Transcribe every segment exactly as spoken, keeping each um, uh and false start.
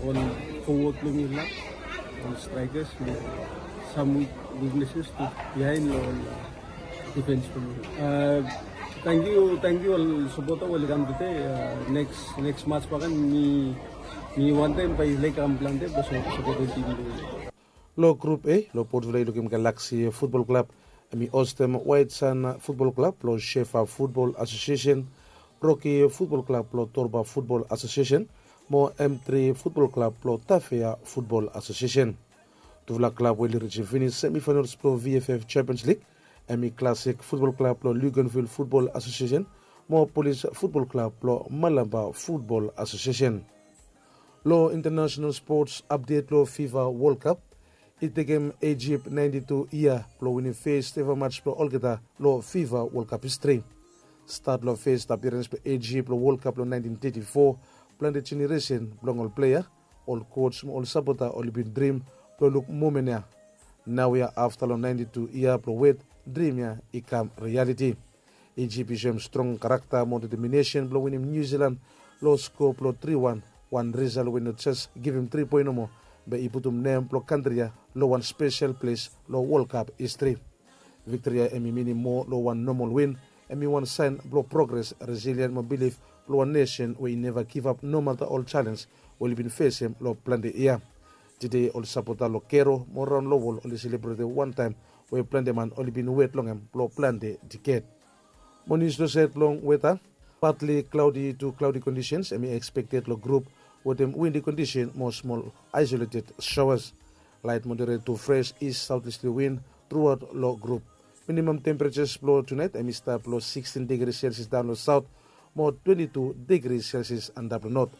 Ol fowod blong yumi lak, ol straikers, sam wik wikneses tu bihain long ol difens blong yumi. Tangkiu, tangkiu ol sapota we oli kam tude. Neks, neks mats baken mi, mi wantem bae yu laik kam plante blong sapota tim blong yumi. Long grup A, long Port Vila i lukim Galaxy Futbol Klab, hemi hostem Waet San Futbol Klab blong Shefa Futbol Asosiesen, Roki Futbol Klab blong Torba Futbol Asosiesen, mo M tri Futbol Klab blong Tafea Futbol Asosiesen. Tufala klab we oli rijim finis semifainals blong V F F Champions League, hemi Classic Futbol Klab blong Luganville Futbol Asosiesen, mo Polis Futbol Klab blong Malampa Futbol Asosiesen. Long international sports update long FIFA World Cup, i tekem Egypt ninety two yia blong winim fes eva mats blong olgeta long FIFA World Cup history. Stat long fes appearance blong Egypt long World Cup long nineteen thirty four, plante generation blong ol player, ol coach mo ol sapota oli bin drim blong luk moment ya. Naoia afta long ninety two yia blong wet, drim ya i kam reality. Egypt i soem strong karakta mo determination blong winim New Zealand long skoa blong tri wan, wan result we no jes givim tri poen nomo, be i putum nem blong kantri ya long wan spesel ples long World Cup history. Viktori ya hemi minim moa long wan nomol win, hemi wan saen blong progres, resilien mo bilif blong wan nesen we i neva givap nomata ol jalenj we oli bin fesem long plante yia. Tede ol sapota long Kero mo raon long wol oli selebretem wan taem we plante man oli bin wet long hem blong plante diked. Mo nius long saed blong weta, partly cloudy to cloudy conditions hemi expected long grup wetem windy condition mo smol isolated showers. Light moderate to fresh east southeasterly wind throughout long grup. Minimum temperatures blong tunaet hemi stap long sixteen degrees Celsius daon long south mo twenty two degrees Celsius antap long north.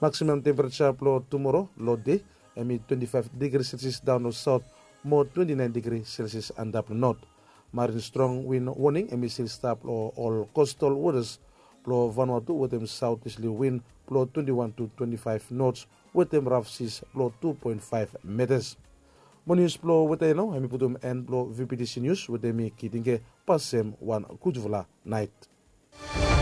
Maximum temperature blong tumoro long dei hemi twenty five degrees Celsius daon long south mo twenty nine degrees Celsius antap long north. Marine strong wind warning hemi stil stap long ol coastal waters blong Vanuatu wetem southeasterly wind blong twenty one to twenty five knots wetem rough seas blong two point five meters. Mo nius blong weta ya nao hemi putum en blong V P T C News wetem mi Kitinge. Pasem wan gudfala naet.